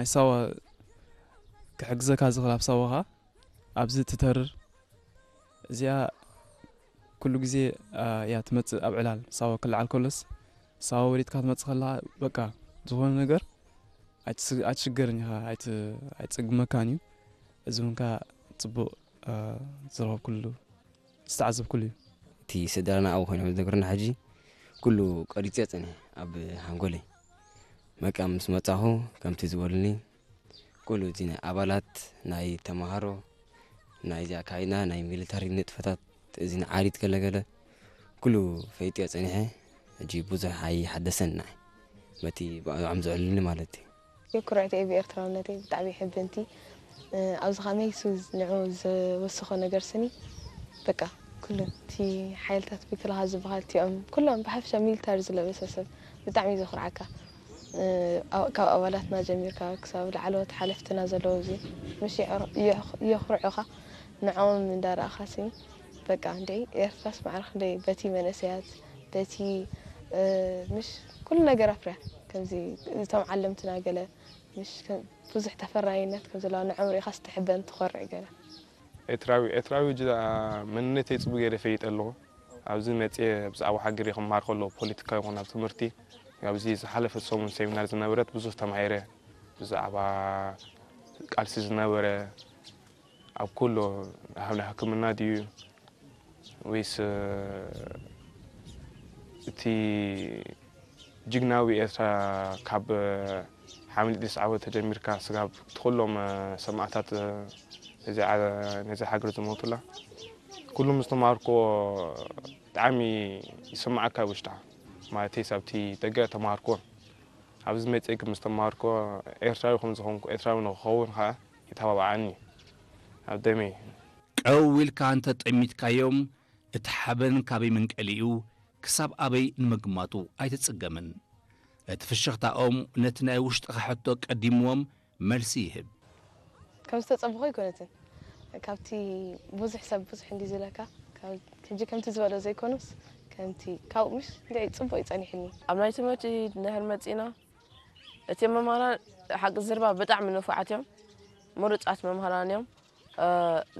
ናይ ሳዋ ክሕግዘካ ዝኽእል ኣብ ሳዋኻ ኣብዚ ትተርር። እዚኣ ኩሉ ግዜ እያ ትመጽእ። ኣብ ዕላል ሳዋ ክልዓል ከሎስ፣ ሳዋ ወሪድካ ትመጽእ ከለኻ፣ በቃ ዝኾነ ነገር ኣይትስ- ኣይትሽገርን ኢኻ፣ ኣይት- ኣይትጸግመካን እዩ። እዚ እውን ከኣ ጽቡቕ ዝረኸብኩሉ ዝተዓዘብኩሉ እዩ። እቲ ስድራና ኣብኡ ኮይኖም ዝነግሩና ሕጂ ኩሉ ቀሪጸ ጽንሕ ኣብ ሃንጎለይ። መቃ ምስ መጻኹ ከምቲ ዝበሉኒ ኩሉ እቲ ናይ ኣባላት ናይ ተማሃሮ ናይ እዚ ኣካይና ናይ ሚሊታሪ ንጥፈታት እዚ ንዓሪት ገለገለ ኩሉ ፈይጥዮ ጸኒሐ። ሕጂ ብዙሕ ኣይሓደሰን ንዓይ በቲ ብዕም ዝዕልኒ ማለት እዩ። ኩርዕቲ እየ ብኤርትራውነተይ ብጣዕሚ ሕብንቲ ኣብዚ ከመይ ንዑ ዝወስኾ ነገር ስኒ በቃ ኩሉ እቲ ሓይልታት ምክልኻል ዝበሃል እቲኦም ኩሎም ብሓፈሻ ሚሊታሪ ዝለበሰ ሰብ ብጣዕሚ እዩ ዘኹርዓካ። ካብ ኣባላትና ጀሚርካ ክሳብ ላዕለዎት ሓለፍትና ዘለዉ እዚ ምሽ የኹርዑኻ። ንዕኦም እንዳረኣኻ ስኒ በቃ እንድዒ ኤርትራስ ማዕረ ክንደይ በቲ መንእሰያት በቲ ምሽ ኩሉ ነገር ኣፍርያ ከምዚ እቶም ዓለምትና ገለ ምሽ ብዙሕ ተፈራይነት ከም ዘለዋ ንዕኦም ርኢኻ ስትሕበን ትኾርዕ ገለ። ኤርትራዊ ኤርትራዊ ጅዳ መንነተይ ጽቡቅ ገይረ ፈይጠ ኣለኹ። ኣብዚ መጽየ ብዛዕባ ሃገረይ ክመሃር ከሎ ፖለቲካ ይኹን ኣብ ትምህርቲ ኣብዚ ዝሓለፈ ሰሙን ሴሚናር ዝነበረት ብዙሕ ተማሂረ። ብዛዕባ ቃልሲ ዝነበረ ኣብ ኩሎ ኣብ ናይ ሕክምና ድዩ ወይስ እቲ ጅግናዊ ኤርትራ ካብ ሓምሊጥ ዲስ ዓወት ተጀሚርካ ስጋብ ትኹሎም ሰማእታት ነዚ ሃገር ዝሞቱላ ኩሉም ዝተማሃርኮ ብጣዕሚ ይስማዓካ ውሽጣ ማለተይ ሳብቲ ደገ ተማሃርኮ ኣብዚ መፅእ ምስ ተማሃርኮ ኤርትራዊ ከም ዝኾንኩ ኤርትራዊ ንክኸውን ከዓ ይተባብዓኒ ኣብ ደመይ ቀው ኢልካ እንተ ጠሚትካዮም እቲ ሓበን ካበይ መንቀሊኡ ክሳብ ኣበይ ንምግማቱ ኣይትጽገምን። እቲ ፍሽኽታኦም ነቲ ናይ ውሽጥኻ ሕቶ ቀዲምዎም መልሲ ይህብ። ከም ዝተጸበኹ ኣይኮነትን። ካብቲ ብዙሕ ሰብ ብዙሕ እንዲ ዝለካ ሕጂ ከምቲ ዝበሎ ዘይኮኑስ ከምቲ ካብኡ ምሽ እንድዒ ጽቡቕ ይጸኒሕኒ። ኣብ ናይ ትምህርቲ እንድሕር መጺእና እቲኦም መማህራን ሓቂ ዝርባ ብጣዕሚ ንፉዓት እዮም። ምሩጻት መምህራን እዮም።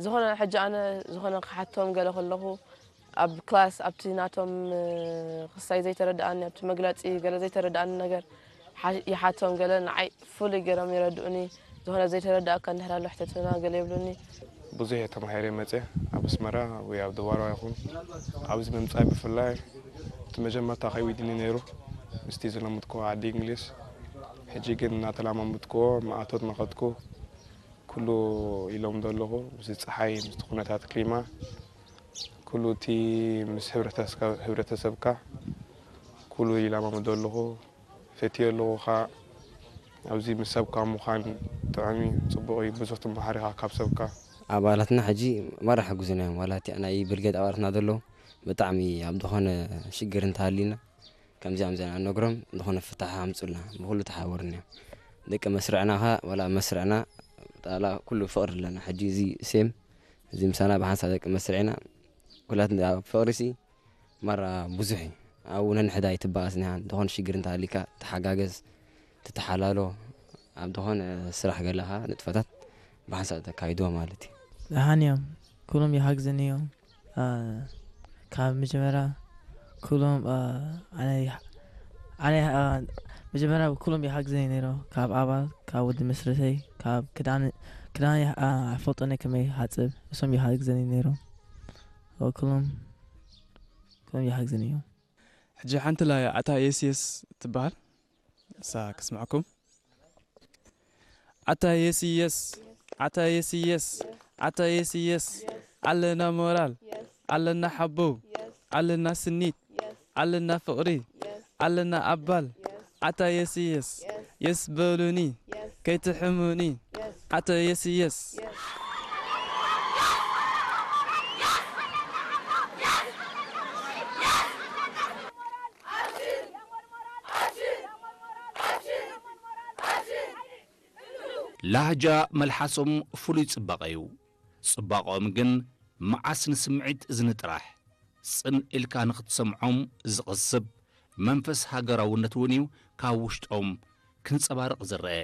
ዝኾነ ሕጂ ኣነ ዝኾነ ክሓቶም ገለ ከለኹ ኣብ ክላስ ኣብቲ ናቶም ክሳይ ዘይተረድኣኒ ኣብቲ መግለፂ ገለ ዘይተረድኣኒ ነገር ይሓቶም ገለ ንዓይ ፍሉይ ገይሮም የረድኡኒ። ዝኾነ ዘይተረድኣካ እንድሕር ኣሎ ሕተትና ገለ ይብሉኒ። ብዙሕ እየ ተማሂረ መፅየ ኣብ ኣስመራ ወይ ኣብ ደባርባ ይኹን ኣብዚ ምምፃእ ብፍላይ እቲ መጀመርታ ከይዊድኒ ነይሩ ምስቲ ዝለምድክዎ ዓዲ እንግሊዝ ሕጂ ግን እናተላማመድክዎ ማእቶት እናኸድኩ ኩሉ ይለምዶ ኣለኹ ምስቲ ፀሓይ ምስቲ ኩነታት ክሊማ ኩሉ እቲ ምስ ህብረተሰብካ ኩሉ ይለማመዶ ኣለኹ። ፈትየ ኣለኹ ኸዓ ኣብዚ ምስ ሰብካ ምዃን ጥዑም እዩ፣ ፅቡቕ እዩ፣ ብዙሕ ትመሃር ኢኻ ካብ ሰብካ። ኣባላትና ሕጂ ማራ ሓጉዝና እዮም፣ ዋላ እቲ ናይ ብርጌድ ኣባላትና ዘለዉ ብጣዕሚ ኣብ ዝኾነ ሽግር እንተሃልዩና ከምዚኣ ከምዚኣ ኢና ንነግሮም፣ ዝኾነ ፍታሕ ኣምፁልና፣ ብኹሉ ተሓባበሩና እዮም። ደቂ መስርዕና ኸዓ ዋላ ኣብ መስርዕና ጣላ ኩሉ ፍቕሪ ኣለና። ሕጂ እዚ ሴም እዚ ምሳና ብሓንሳብ ደቂ መስርዕና ኩላት ፍቕሪ ሲ ማራ ብዙሕ እዩ ኣብኡ ነንሕዳ ኣይትበኣስን ኢኻ ዝኾነ ሽግር እንተሃልዩካ ትሓጋገዝ ትተሓላሎ ኣብ ዝኾነ ስራሕ ገለ ኸዓ ንጥፈታት ብሓንሳብ ተካይድዎ ማለት እዩ። ደሓን እዮም ኩሎም ይሓግዝኒ እዮም ካብ መጀመርያ ኩሎም ኣነ ኣነ መጀመርያ ኩሎም ይሓግዝኒ ነይሮ ካብ ኣባል ካብ ወዲ መስርተይ ካብ ክዳን ክዳን ኣይፈልጦን እየ ከመይ ክሓፅብ እሶም ይሓግዝኒ ነይሮም ኩሎም ከም ይሓግዝን እዩ። ሕጂ ሓንቲ ላይ ኣታ የስየስ ትበሃል እሳ ክስምዐኩም። ኣታ የስየስ ኣታ የስየስ ኣታ የስየስ ኣለና ሞራል ኣለና ሓቦ ኣለና ስኒት ኣለና ፍቕሪ ኣለና ኣባል ኣታ የስየስ የስ በሉኒ ከይትሕሙኒ ኣታ የስየስ። ላህጃ መልሓሶም ፍሉይ ጽባቐ እዩ። ጽባቐኦም ግን መዓስ ንስምዒት እዝኒ ጥራሕ ጽን ኢልካ ንኽትሰምዖም ዝቕስብ መንፈስ ሃገራውነት እውን እዩ ካብ ውሽጦም ክንጸባርቕ ዝረአ።